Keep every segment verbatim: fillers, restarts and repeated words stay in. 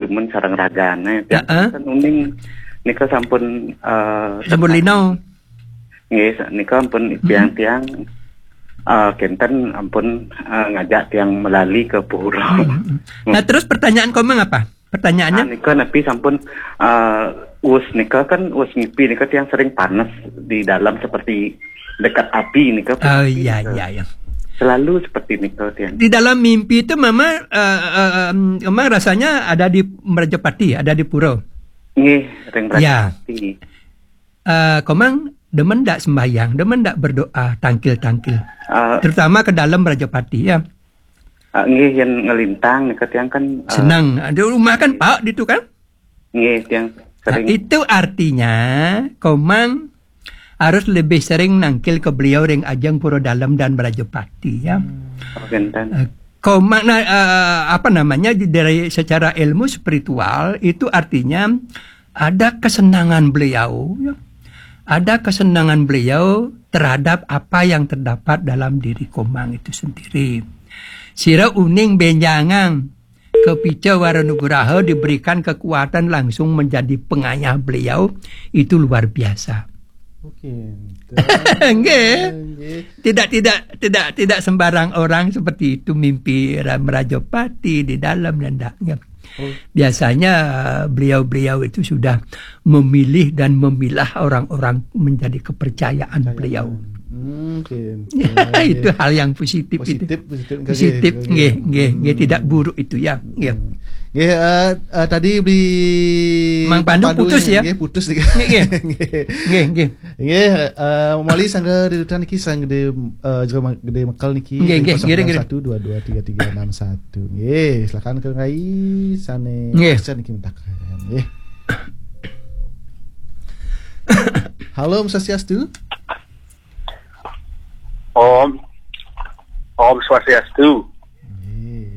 Mun sareng ragane, tiang kan uning nika sampun, eh, sampun lino. Nggih, sa-, nika ampun tiang-tiang, eh, kenten ampun, eh, ngajak tiang melali ke pura. Hmm, hmm. Nah, terus pertanyaan Komang apa? Pertanyaannya? Ah, nika napi sampun, eh, us nika kan, us ngipi nika tiang sering panas di dalam seperti dekat api nika. Oh, iya, iya, iya. Selalu seperti nika tiang. Di dalam mimpi itu Mama, eh, eh, em, Komang rasanya ada di Merajapati, ada di pura. Nggih, ring Merajapati. Eh, Komang demen ndak sembahyang, demen ndak berdoa tangkil-tangkil? Eh, terutama ke dalam Merajapati, ya. Ah, nggih, yen ngelintang nika tiang kan, eh, senang. Di rumah kan Pak ditu kan? Nggih, tiang sering. Nah, itu artinya Komang harus lebih sering nangkil ke beliau ring ajeng Pura Dalem dan Merajapati, ya. Hmm. Oh, kenten. Eh, Komang, nah, eh, apa namanya, di, dari secara ilmu spiritual itu artinya ada kesenangan beliau, ya. Ada kesenangan beliau terhadap apa yang terdapat dalam diri Komang itu sendiri. Sira uning benjangan, kapica wara nugraha diberikan kekuatan langsung menjadi pengayah beliau, itu luar biasa. Oke. Nggih. Nggih. Tidak, tidak, tidak, tidak sembarang orang seperti itu mimpi ra-, Merajapati di dalam dan dak. Nggih. Oh. Biasanya, eh, beliau-beliau itu sudah memilih dan memilah orang-orang menjadi kepercayaan beliau. Hmm, oke. Itu hal yang positif itu. Positif, positif, nggih, nggih, nggih, tidak buruk itu, ya. Nggih. Nggih, eh, eh, tadi beli Mang Pandu putus, ya? Nggih, putus. Nggih, nggih. Nggih, nggih. Nggih, eh, mawali sangga di rutan niki, sangga di, eh, Jero Ma-, Gede Mekel niki, nggih, nggih, nggih, nggih. Kosong sembilan satu dua dua tiga tiga enam satu. Nggih, silakan ke Rai sane, nggih, Aksen niki mentakan. Nggih. Halo, Om Swastiastu. Om. Om Swastiastu.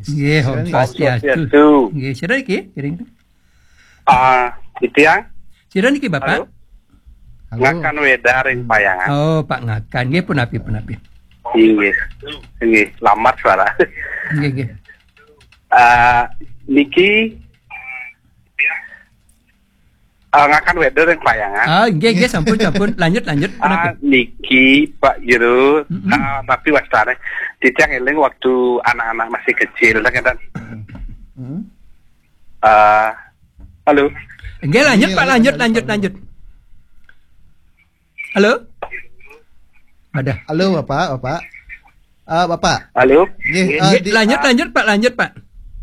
Nggih, Om Swastiastu. Swastiastu. Nggih, sira niki, kiring. Ah, titiang. Sira niki, Bapak? Halo? Halo. Ngakan Weda ring Payangan. Oh, Pak Ngakan. Nggih, punapi, punapi. Inggih. Inggih, lamar suara. Nggih, nggih. Ah, niki, ah, Ngakan Weda ring Payangan. Ah, nggih, nggih, sampun, sampun. Lanjut, lanjut. Ah, punapi? Niki, Pak Jero, mm-mm, ah, tapi wastane titiang eling waktu anak-anak masih kecil, kan? Hmm. Ah, halo? Nggih, lanjut, Pak, lanjut, lanjut, lanjut. Halo? Ada. Halo, Bapak, Bapak. Ah, Bapak. Halo? Nggih, nggih, ah, nggih, di, lanjut, ah, lanjut, Pak, lanjut, Pak.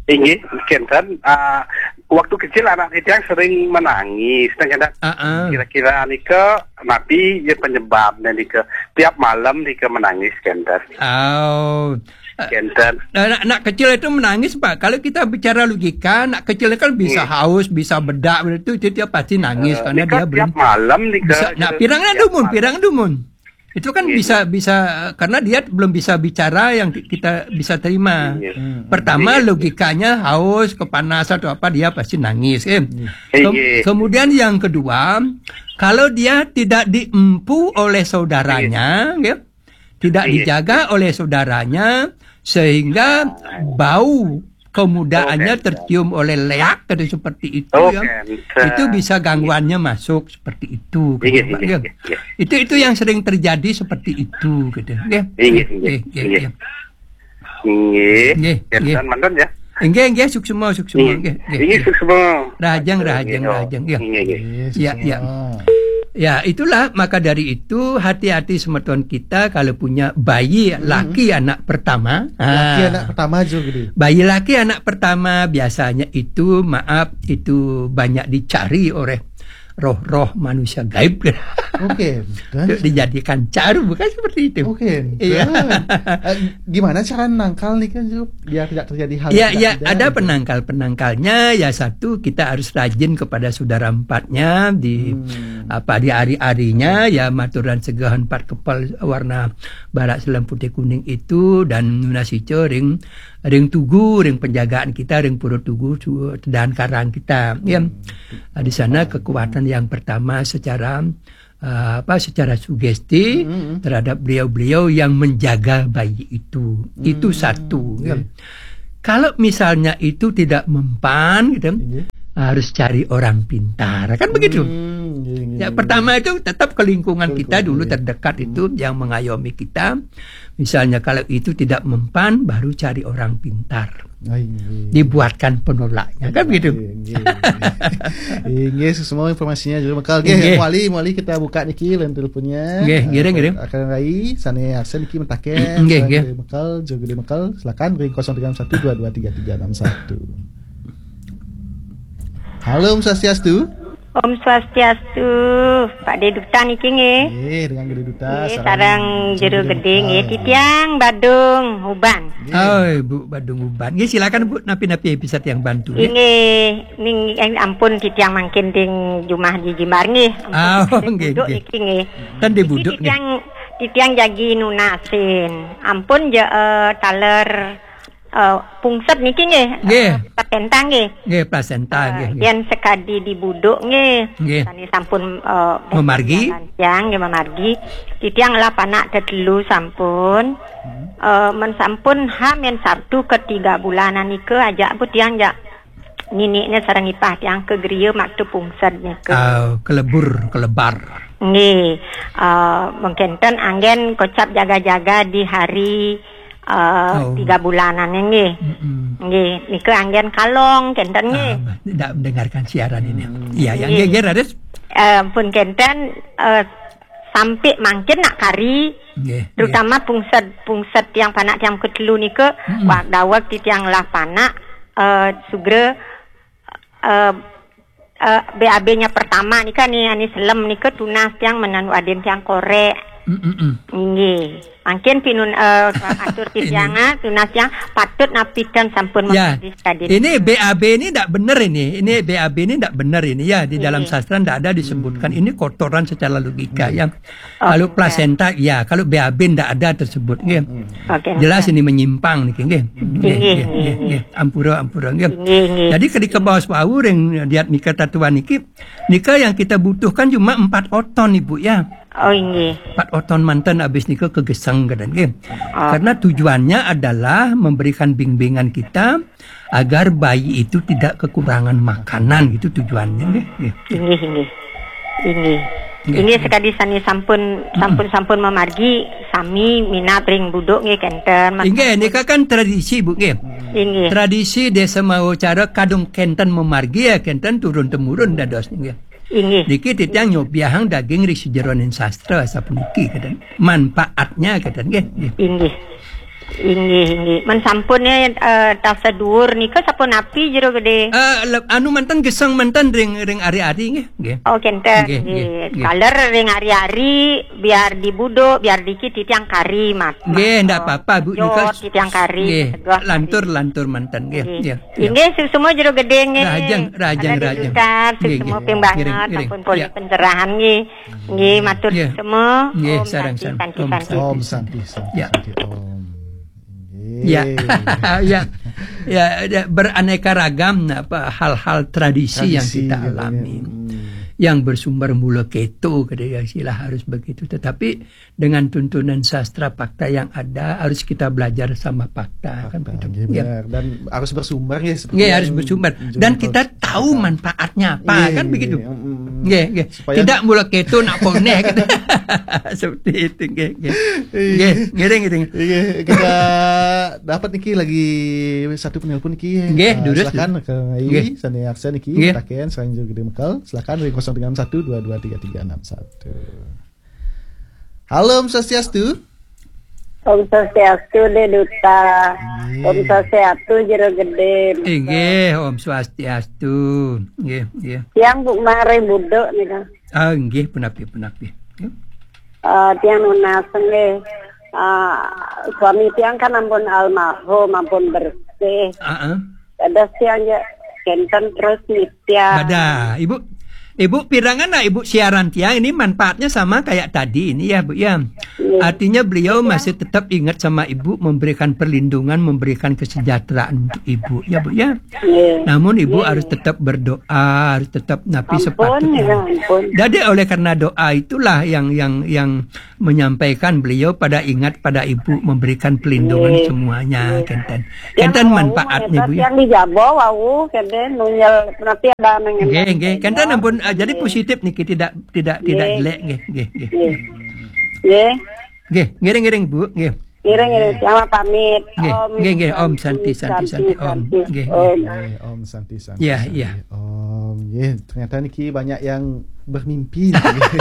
Inggih, kenten, ah, waktu kecil anak titiang sering menangis, nah, kenten. Ah, ah. Kira-kira nika napi ya penyebabnya nika? Tiap malam nika menangis, kenten. Oh. Kenten. Nah, anak, anak kecil itu menangis, Pak. Kalau kita bicara logika, anak kecil kan bisa haus, bisa bedak, itu, itu dia pasti nangis, eh, karena nika dia belum tiap malam nika, bisa. Nah, gitu, pirang tiap dumun, malam. Pirang dumun. Itu kan bisa, bisa, karena dia belum bisa bicara yang ki-, kita bisa terima. Iya. Hmm, hmm. Pertama, iya, iya, logikanya haus, kepanasan atau apa, dia pasti nangis, eh. Iya. Kem-, iya, kemudian yang kedua, kalau dia tidak diempu oleh saudaranya, iya, ya, tidak, iya, dijaga oleh saudaranya, sehingga bau kemudaannya, oke, tercium oleh leak, atau seperti itu, oh, ya. Cancer. Itu bisa gangguannya masuk seperti itu, gitu, iya, Pak, iya, ya. Iya, iya. Itu, itu yang sering terjadi seperti itu, gitu, ya. Iya, iya, iya, iya, iya, iya. Nggih. Nggih, nggih. Mantun, ya. Nggih, nggih, suksma, suksma, nggih, nggih, nggih, suksma. Rahajeng, rahajeng, nggih, rahajeng, ya. Nggih, nggih. Ya, ya. Ya, itulah, maka dari itu, hati-hati semeton kita kalau punya bayi laki anak pertama. Laki anak pertama juga, gitu. Bayi laki anak pertama biasanya itu, maaf, itu banyak dicari oleh roh-roh manusia gaib. Oke, untuk dijadikan caru, bukan seperti itu. Oke, iya. Eh, gimana cara nangkal nih kan, Jero, biar tidak terjadi hal yang tidak, iya, tidak, ada gitu, penangkal-penangkalnya, ya, satu, kita harus rajin kepada saudara empatnya di, hmm, apa, di ari-arinya, ya, maturan segahon empat kepal warna barak selem putih kuning itu, dan nunas ica ring, ring tugu, ring penjagaan kita, ring pura tugu, su-, dan karang kita, ya. Hmm. Nah, di sana kekuatan yang pertama secara, eh, apa, secara sugesti, hmm, terhadap beliau-beliau yang menjaga bayi itu. Itu, hmm, satu, ya. Iya. Kalau misalnya itu tidak mempan, gitu, iya, harus cari orang pintar. Kan begitu. Hmm, iya, iya, ya, iya. Pertama itu tetap ke lingkungan kita dulu terdekat itu yang mengayomi kita. Misalnya kalau itu tidak mempan, baru cari orang pintar. Dibuatkan penolaknya, kan begitu. Inggih, semua informasinya juga bekal. Nggih, Wali, Wali kita buka niki line teleponnya. Nggih, ngiring, ngiring. Akan rai, sane Arsen niki mentaken. Nggih, nggih. Bekal, juga di bekal. Silakan ring kosong tiga enam satu dua dua tiga tiga enam satu. Halo, Om Swastiastu. Om Swastiastu, Pak De Duta niki nggih. Nggih, dengan Gede Duta, nggih, sareng sareng Jero Jero Gede nggih, Duta. Titiang Badung Uban. Nggih. Oh, Bu Badung Uban. Nggih, silakan Bu, napi-napi bisa tiang bantu nggih. Nggih, ning eh, ampun titiang mangkin ding jumah di jimbar nggih. Ampun, oh, nggih, nggih. Niki nggih. Ten di buduk nggih. Titiang titiang jagi nunasin. Ampun je eh, taler eh, pungset niki nggih. Nggih. Eh, plasenta nggih. Nggih, plasenta nggih, nggih. Yen sekadi di buduk nggih. Nggih. Sane sampun eh, memargi. Tiang nggih memargi. Titiang lah panak tetelu sampun. Eh, men sampun ha men Sabtu ketiga bulanan nika ajak bu tiang jak niniknya sareng ipah tiang ke geria maktu pungset nika. Ah, kelebur, kelebar. Nggih. Eh, mengkenten anggen kocap jaga-jaga di hari eh, tiga bulanan nggih. Nggih, nika anggen kalong kenten nggih. Ah, tidak mendengarkan siaran ini. Iya, yang nggih, nggih, Raris. Eh, pun kenten eh, sampai mangkin nak kari, nggih, terutama pungset pungset tiang panak tiang ketelu nika, wak dawek ti tiang lah panak eh, sugra eh, eh, B A B-nya pertama nika ni ani selem nika tunas tiang menan wadin tiang korek. Mm, mm, mm. Nggih. Mangkin pinun eh, atur titiang ah, tunas tiang patut napikan sampun ya. Ini B A B ini tidak benar ini. Ini B A B ini tidak benar ini ya. Di dalam sastra tidak ada disebutkan. Ini kotoran secara logika ya. Kalau plasenta ya, kalau B A B tidak ada tersebut nggih. Jelas ini menyimpang niki nggih. Nggih, nggih, nggih. Ampura, ampura nggih. Nggih, nggih. Jadi ketika baos wau ring diat mika tatuan niki, nika yang kita butuhkan cuma empat oton Ibu ya. Oh, nggih. Empat oton manten habis nika kegeseng keten nggih. Karena tujuannya adalah memberikan bimbingan kita agar bayi itu tidak kekurangan makanan gitu tujuannya nggih. Nggih. Inggih, inggih. Inggih. Inggih sekadi sani sampun sampun sampun memargi sami minat ring buduk nggih kenten. Inggih nika kan tradisi Bu nggih. Inggih. Tradisi desa mau cara kadung kenten memargi ya kenten turun temurun dados nggih. Inggih. Niki titiang nyobiahang daging ri sejeroning sastra sapuniki keten. Manfaatnya keten nggih. Inggih. Inggih, inggih. Men sampun ya uh, tasa dhuwur nika sapunapi Jero Gede? Eh, le- anu manten geseng manten ring ring ari-ari nggih, nggih. Oh kenten. Nggih, nggih, nggih. Kaler ring ari-ari biar di buduk, biar dikit titiang kari mat. Nggih, ndak apa-apa Bu. Nika titiang kari. Nggih. Lantur lantur manten nggih. Nggih. Nggih, semua Jero Gede nggih. Rajang, rajang, rajang. Nggih, semua nggih. Ping banget, ngiring, ngiring. Sampun poli pencerahan nggih. Nggih, matur semua. Nggih, sareng santi, santi. Om santi, santi, Om. Ya. Santi, Om. Nggih. Ya. Ya. Ya, ya, beraneka ragam apa hal-hal tradisi yang tradisi kita katanya. Alami. Hmm. Yang bersumber mula keto kata ya istilah harus begitu. Tetapi dengan tuntunan sastra fakta yang ada harus kita belajar sama fakta kan begitu. Nggih, ya. Benar. Dan harus bersumber ya seperti nggih, harus bersumber. Dan kita tahu manfaatnya apa nggih, kan begitu. Nggih, nggih. Tidak mula keto nak koneh kan. Seperti itu nggih, nggih. Nggih, ngiring ngiring. Nggih, kita dapat niki lagi satu penelpon niki. Nggih, uh, durus. Silakan ke nggih. Sani aksen niki. Nggih. Taken selain juga di Mekal. Silakan dari kosong tiga enam satu dua dua tiga tiga enam satu. Halo, Om Swastiastu. Om Swastiastu, De Duta. Nggih. Om Swastiastu, Jero Gede. Inggih, Om Swastiastu. Nggih, nggih. Yang Bu Mare Buduk nih kan. Ah, nggih, punapi, punapi. Uh, tiang nunas nggih. Uh, suami tiang kan ampun almarhum, ampun bersih. Heeh. Ada siang ya, kenten terus nitya. Badah, Ibu. Ibu, pirangan lah Ibu siaran tiang ini manfaatnya sama kayak tadi ini ya, Bu, ya. Iya. Artinya beliau Iya. masih tetap ingat sama Ibu, memberikan perlindungan, memberikan kesejahteraan untuk Ibu, ya, Bu, ya. Iya. Namun Ibu Iya. harus tetap berdoa, harus tetap napi Ampun, sepatutnya. ya, ampun. Jadi oleh karena doa itulah yang yang yang menyampaikan beliau pada ingat pada Ibu, memberikan perlindungan Iya. semuanya, Iya. kenten. Yang Kenten wau manfaatnya, Bu, ya. yang di Jabo, wau, kenten, nunyel, nanti ada nang Nggih, nggih. Kenten ampun, ah, jadi Nggih. positif niki, tidak tidak tidak Nggih. jelek, nggih, nggih, nggih. Nggih. Nggih. Nggih, ngiring-ngiring, Bu, nggih. Ngiring-ngiring, selamat pamit. Nggih, Om nggih, nggih, Om Santi, Santi, Santi, Santi, Om. Santi, Nggih, Om. nggih. Eh, Om Santi, Santi, Ya, Santi. ya. Om, nggih, ternyata niki banyak yang bermimpi niki.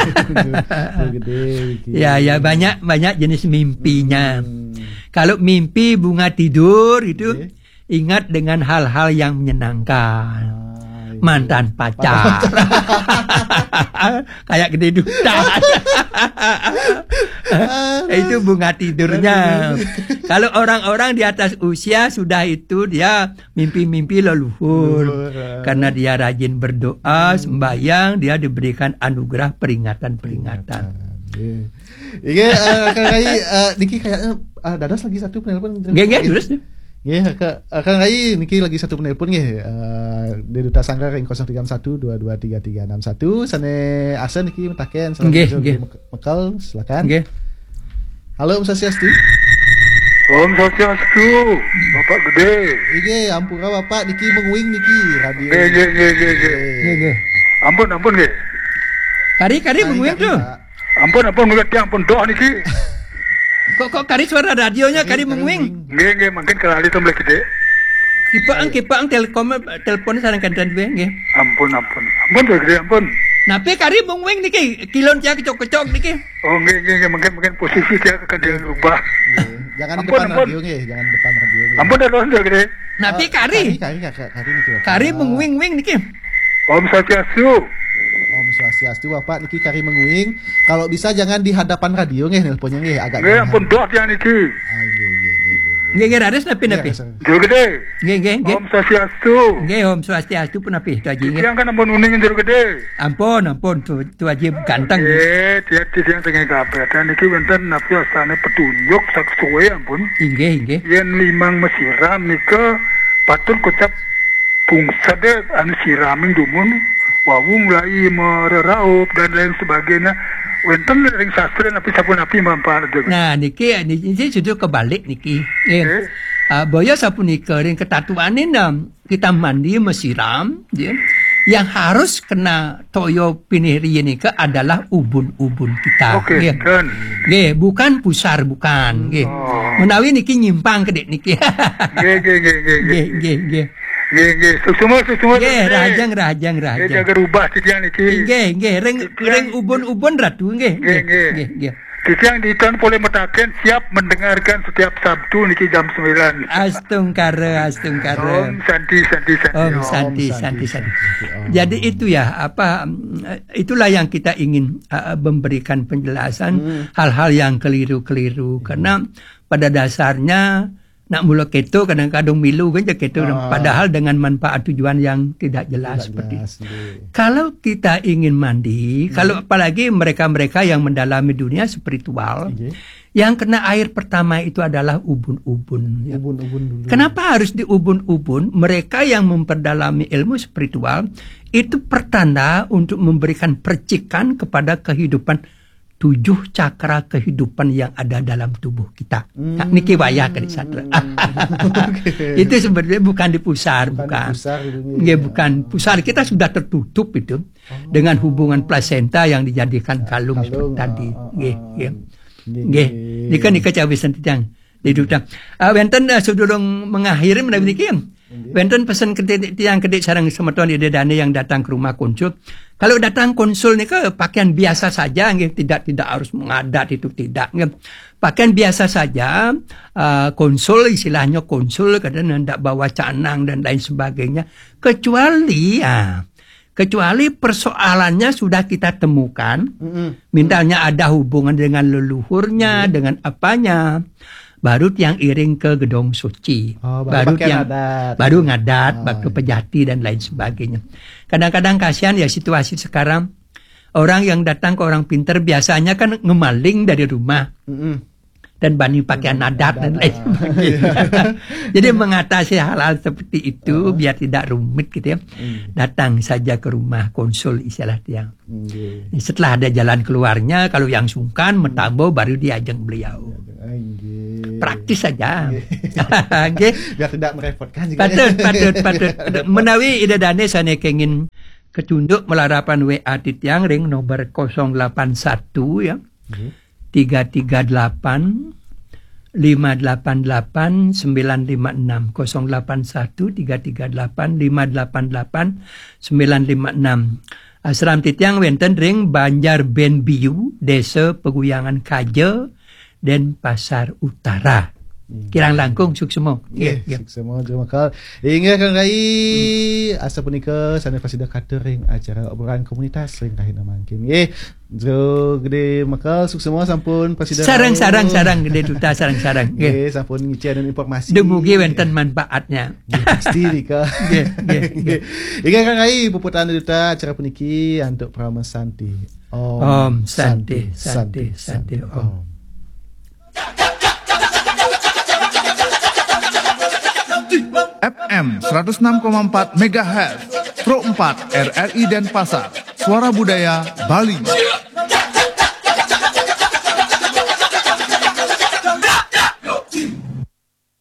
Gede niki. Ya, ya, banyak banyak jenis mimpinya. Hmm. Kalau mimpi bunga tidur itu Nggih. ingat dengan hal-hal yang menyenangkan. Ah, iya. Mantan pacar. Kayak gede duta. Itu bunga tidurnya. Kalau orang-orang di atas usia sudah itu dia mimpi-mimpi leluhur. Leluhur, ah. Karena dia rajin berdoa, Hmm. sembahyang, dia diberikan anugerah peringatan-peringatan. Peringatan. Iya. Iya, eh, Kang Rai, eh, niki kayaknya, eh, dados lagi satu penelpon. Nggih, nggih, terus. Nggih, Kak, eh, Kang Rai, niki lagi satu penelpon nggih. Eh, di Duta Sanggar ring kosong tiga satu dua dua tiga tiga enam satu. Sane Arsen niki metaken, salam Nggih, hijau nggih. dari Mek-, Mekal, silakan. Nggih. Halo, Om Swastiastu. Om Swastiastu, Bapak Gede. Nggih, ampura Bapak, niki menguing niki radio. Nggih, nggih, nggih, nggih, nggih. Nggih, nggih. Ampun, ampun, nggih. Kari, kari Kari, menguing kari, tuh. Pak. Ampun, ampun, nggih, tiang pun doh niki. Kok, kok kari suara radionya, Kari, kari kari menguing? menguing. Nggih, nggih, mungkin kerali tuh mulai gede. Kipaang, Ayo. kipaang, telekom, telepon sareng kenten duwe, nggih. Ampun, ampun. Ampun, Pak Gede, ampun. Napi kari menguing niki, kilon tiang kecok-kecok niki. Oh, nggih, nggih, nggih, mungkin, mungkin posisi dia akan dia rubah. Nggih. Jangan di Ampun, depan ampun. radio nggih, jangan di depan radio nggih. Ampun, dah, dah, dah, Gede. Napi Eh, kari? kari, kari, kari, kari niki, Bapak. Kari menguing-uing niki. Om Swastiastu. Om Swastiastu, Bapak niki kari menguing. Kalau bisa jangan di hadapan radio nggih, nelponnya nggih, agak Nggih, jauhan. ampun, doh tiang niki. Ah, nggih, nggih, nggih, nggih, nggih. Nggih, nggih, raris napi, Nggih, napi? Arsen. Jero Gede. Nggih, nggih, nggih. Om Swastiastu. Nggih, Om Swastiastu pun napi, Tuh Aji, nggih. Tiang kan ampun uning, Jero Gede. Ampun, ampun, Tu, Tu Aji ganteng. Nggih, tiang, tiang tengah kabeh. Dan niki wonten napi astane petunjuk sak suwe, ampun. Inggih, inggih. Yen limang mesiram nika patut kocap bungsede anu siraming dumun, wau mulai mereraup dan lain sebagainya. Wonten ring sastra napi sapunapi manfaat, Jero Gede. Nah, niki, niki sudah kebalik niki. Nggih. Nggih. Ah, boya sapunika ring ketatuaning, em, kita mandi mesiram, ya. Yang harus kena toya pinih riyin nika adalah ubun-ubun kita. Oke, Nggih. Ken. Nggih, bukan pusar, bukan. Nggih. Oh. Menawi niki nyimpang kedek niki. Nggih, nggih, nggih, nggih, Nggih, nggih. nggih, nggih. Nggih, nggih. Suksma, suksma, Nggih, nggih. rahajeng, rahajeng, Nggih, rahajeng. jaga rubah titiang niki. Nggih, nggih. Ring, Titiang ring ubun-ubun ratu, nggih. Nggih, Nggih, nggih. nggih, nggih. Titiang diton boleh metaken siap mendengarkan setiap Sabtu niki jam sembilan. Astungkara, astungkara. Om Santi, Santi, Santi, Om Om. Santi, Om Santi, Santi, Santi. Santi, Om. Jadi itu ya, apa, mm, itulah yang kita ingin, uh, memberikan penjelasan Hmm. hal-hal yang keliru-keliru. Hmm. Karena pada dasarnya nak mula keto kadang-kadang milu kan je keto, Ah. padahal dengan manfaat tujuan yang tidak jelas Tidak seperti jelas, itu. Nggih. Kalau kita ingin mandi, Hmm. kalau apalagi mereka-mereka yang mendalami dunia spiritual, Nggih. yang kena air pertama itu adalah ubun-ubun, ya. Ubun-ubun dulu. Kenapa harus diubun-ubun? Mereka yang memperdalami ilmu spiritual itu pertanda untuk memberikan percikan kepada kehidupan tujuh cakra kehidupan yang ada dalam tubuh kita. Nah, Hmm. niki wayah kali satra. Oke. Itu sebenarnya bukan di pusar, Bukan di bukan. pusar itu, Nggih, ya. bukan pusar. Kita sudah tertutup itu Oh. dengan hubungan plasenta yang dijadikan kalung Kalung, seperti tadi. ah, ah, Nggih, ah. nggih. Nggih, Nggih. nggih. Nika, nika cawisan titiang. Di duta. Ah, wenten, ah, sedurung mengakhiri menawi niki. Nggih. Wenten pesen ke ti-, tiang kedik sareng semeton ida dane yang datang ke rumah konsul. Kalau datang konsul nika pakaian biasa saja, nggih, tidak, tidak harus mengadat itu, tidak, nggih. Pakaian biasa saja, ah, konsul istilahnya konsul, kadang ndak bawa canang dan lain sebagainya. Kecuali, ah, kecuali persoalannya sudah kita temukan, Mm-mm. misalnya ada hubungan dengan leluhurnya, Iya. dengan apanya, Baru tiang iring ke gedong suci. Oh, baru baru pakaian tiang adat. Baru ngadat, Ah, waktu pejati dan lain sebagainya. Kadang-kadang kasihan ya situasi sekarang, orang yang datang ke orang pinter biasanya kan ngemaling dari rumah Mm-mm. dan bani pakaian adat dan lain sebagainya. Jadi mengatasi hal-hal seperti itu biar tidak rumit gitu ya. Datang saja ke rumah konsul istilah tiang. Nggih. Setelah ada jalan keluarnya, kalau yang sungkan, metambo baru diajeng beliau. Nggih. Praktis saja. Nggih. Biar tidak merepotkan juga. Patut, patut, patut, patut. Menawi Ida Dane sane kengin kecunduk malarapan W A titiang ring nomor kosong delapan satu ya. Nggih. Tiga tiga delapan lima delapan delapan sembilan lima enam, kosong delapan satu tiga tiga delapan lima delapan delapan sembilan lima enam. Asram titiang wenten ring Banjar Benbiu, Desa Peguyangan Kaja, Denpasar Utara. Kirang langkung suksma. Nggih, Nggih, nggih. Suksma, Jero Makal. Inggih, Kang Rai, asapunika sane prasida katur ring acara obrolan komunitas ring rahina mangkin. Nggih, Jero Gede Makal, suksma sampun prasida Sarang, rauh. Sarang, sarang, Gede Duta, sarang, sarang. Nggih. Nggih, sampun ngicen informasi. Dumugi wenten manfaatnya. Nggih, pasti nika. Nggih, nggih, nggih. Inggih, Kang Rai, puputang duta acara puniki antuk Parama Santi. Om Santi, Santi, Santi, Om. F M seratus enam koma empat megahertz, Pro empat R R I Denpasar, Suara Budaya Bali.